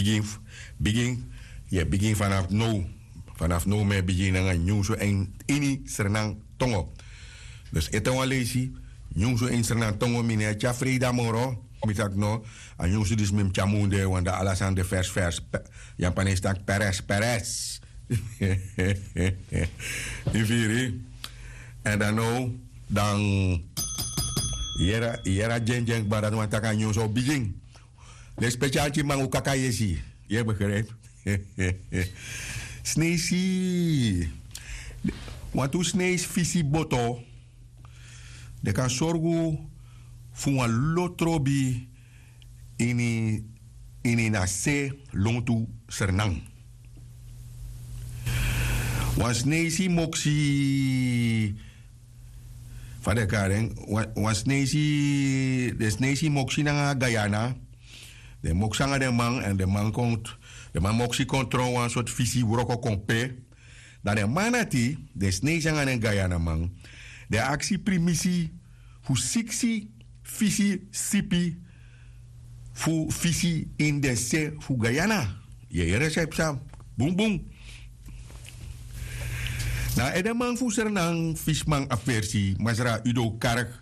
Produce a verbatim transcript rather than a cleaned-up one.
Bigin, bigin, yu e bigin vanaf now. Vanaf now mi e bigin nanga nyunsu en ini Sranan tongo. Dus ete wan leisi, nyunsu en Sranan tongo, mi no e tyari freida moro. Mi taki no, a nyunsu disi mi mus tyari munde, want dan ala sani de vers vers. Pe- Yu abi wan sani taki peres peres. Yu firi? En dan now, dan yere, yere a dyendyen kba, dati wani taki a nyunsu o bigin. Den spesial tyiman, un kaka yesi. Yu e begrijp? Sneisi. Wantu sneisi fisi boto, den kan sorgu fu wan lo trobi ini, ini na se lontu Sranan. Wan sneisi moksi, fa den e kari en, wan, wan sneisi, den sneisi moksi nanga Guyana. Den moksi nanga den man, èn den man kon, den man moksi kon tron wan sortu fisi wroko kon pe. Dan den man dati, den sneisi nanga den Guyana man, den aksi primisi fu siksi fisi sipi fu fisi ini den se fu Guyana. Yu e yere san yu psa? Bunbun. Na edeman fu Sranan Fisiman Aversi, Masra Udo Kark,